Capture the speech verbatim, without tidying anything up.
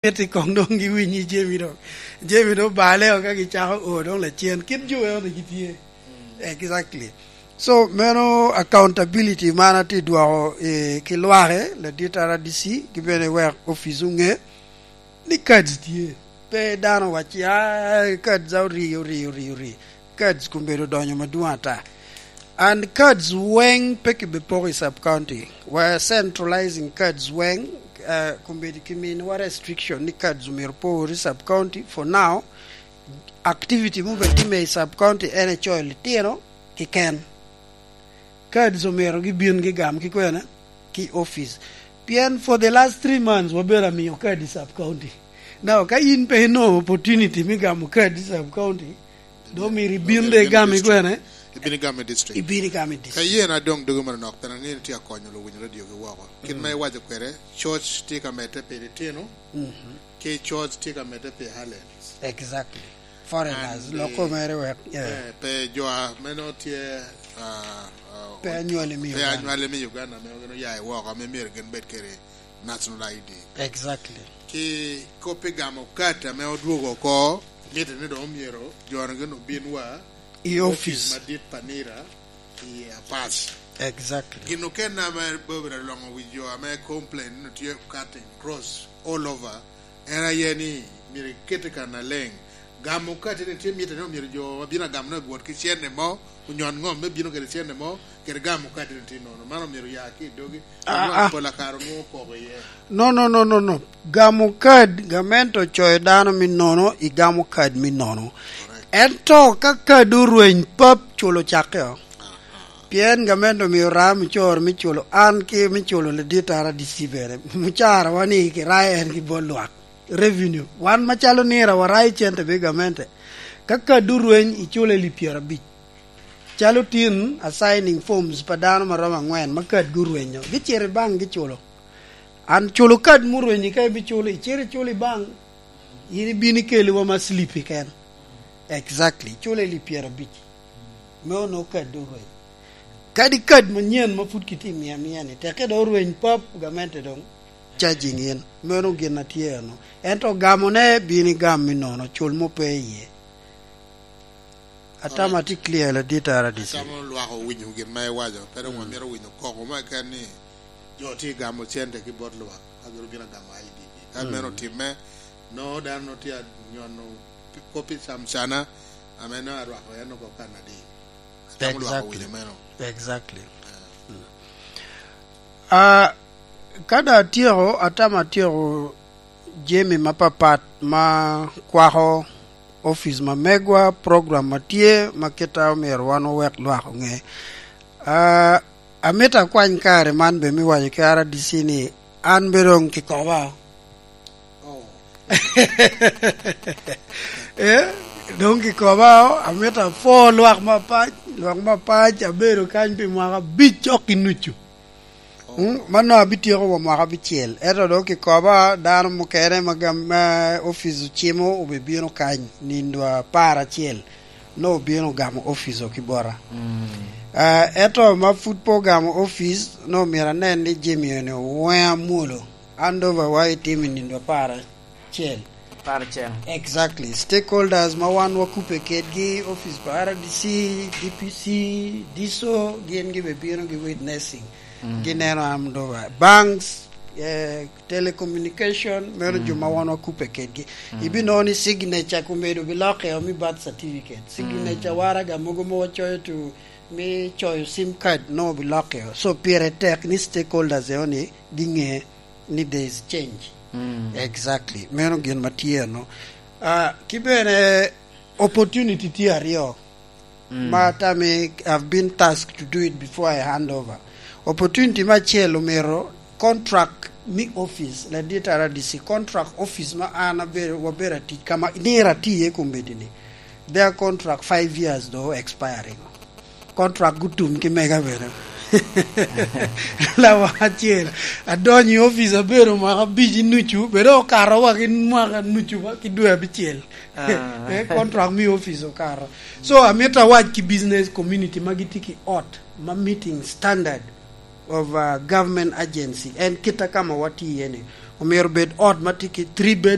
miti koŋ doŋ giwinyi jami doŋ. Jami doŋ bale o ka gicako o doŋ lacen. Kit jo eo ni gitye. Exactly. So, meno accountability man atye dwoko, eh, ki lwake, ladit R D C, ki bene wek office oŋe ni cards tye. Pe dano wacci, "Ah, cards a ori, ori, ori, ori." Cards kombeddi odonyo madwong ata. And cards weŋ pe kibipoko i sub county. We're centralizing cards weŋ, uh, kombeddi kimiwa restriction ni cards omyero por i sub county. For now, activity mubed time i sub county en ecoyo litino keken. Cards omyero gibin gigam ki kwene? Ki office. Pien for the last three months wabedo amiyo card i sub county. Now, ka in pe ino opportunity me gamo card i sub county, do myero ibin de igam i kwene? Ibin igam i district. Ibin igam i district. Ka yen adong dogo manok, pien angeyo ni tye akonyo luwiny radio ki woko. Kit ma iwaco kwede, church tye ka medde pi litino, ki church tye ka medde pi Highlands. Exactly. Foreigners, and, loko eh, mere wek, yeah. Eh, pe jo a meno tye, ah, ah, pe anywali me pe Uganda. Anywali me Uganda, ame gin oya i woko, ame myero gin bed kede national I D. Exactly. Ki kop i gamo kat ame odwogo oko, mitte ni dong omyero jo-nu gin obin wa i office madit pa nira i Apac. Exactly. Gin okene ame bobere aloŋo wi jo ame complain ni tye cutting cross all over, en aye ni myero ikete kan aleng. Gamo katini tye mitte ni omyero jo abino agamo ni bwot ki cente mo, onyon ŋom me bino kede cente mo, kede gamo katini tye nono. Man omyero ya ki i dogi. Ah, ah. Pol akaro nwoŋo koko iye. No, no, no, no, no. Gamo kad, gamente ocoyo dano me nono, igamo kad me nono. Correct. Ento ka kad orweny pap, culo cakke o. Pien gamente omio ram ocoro me culo an ki me culo ladit R D C bene. Mucarawa ni kirayo en ki bot lwak. Revenue. Wan macalo nira warayo cente pi gamente. Ka kad orweny, iculo elip pyerabic. Calo tin assigning forms pa dano ma romo angwen ma kadgi orwenyo, gicito i bank giculo. An culo kad murwenyi ka ibiculo, icito iculo i bank, in ibino ikeliwa ma slip keken. Exactly, iculo elip pyerabic. Me onongo kad orweny. Kadi kad manyen ma pud kitye miya miya ni, teke dong orweny pap, gamente dong charging in. Meno gin a tye eno. Ento gamone bino igam me nono, cul mo pe iye. Atamo atye clear, ladit R D C. Atamo lwak owinyo gin ma iwaco, pe dong wamito winyo koko mo keken ni jo tye gamo cente ki bot lwak, ka gin obino agamo I D gi. Ka meno otimme, nongo dano tye anyono pi-, kop i camcana, ame nongo arwako en oko kan adi. Atamo lwak owinyo meno. Exactly. Ah, ka dong atyeko, atamo atyeko jami mapapat ma kwako opic ma megwa, program ma tye, ma kite omyero wan owek lwak oŋe. Ah, amito akwany kare man bene me waco ki R D C ni an bene dong kikoba. Oh. Eh, dong kikoba, amito apwo lwak mapac, lwak mapac, abedo kany pi mwaka abic cok i nucu. Mm, mano abityeko wa mwaka abicel. Ento dong kikoba dano mukene ma gam-, ma opic ocimo obibino kany nindo apar acel, nongo obino gamo opic ki bota. Mm. Ah, ento ma pud pe ogamo opic, nongo myero anen ni jami eni oweŋ amwolo. Handover wa itimo i nindo apar acel. Apar acel. Exactly. Stakeholders ma wan wakubbe kedgi, office pa R D C, D P C, diso, gin gibe bino gi witnessing. Mm. Gineno handover. Banks, eh, telecommunication, meno jo ma wan wakubbe kedgi. Mm. Ibinongo ni signature komedo bilokke omi birth certificate. Signature waraga mogo ma wacoyo to me coyo sim card nongo bilokke. So pire tek ni stakeholders eo ni ginge ni there is change. Mm. Exactly. Meno gin ma tye eno. Ah, ki bene opportunity tye aryo. Mm. Ma atamo I've been tasked to do it before I hand over. Opportunity me acel omyero contract me office, ladit R D C, contract office ma an abedo, wabedo atic kama, nira atiye kombeddi ni. Their contract five years do expiring. Contract gutum ki mega bene. Lawa acel, adonyo i office abedo mwaka abic i nucu, bedo okato wa ki mwaka nucu wa ki dwe abicel. Ah. Eh, contract me office okato. So, amito awac ki business community ma gitye ki ot ma meeting standard of, uh, government agency. En kit a ka ma watye iye ni. Omyero bed ot ma tye ki three bedrooms.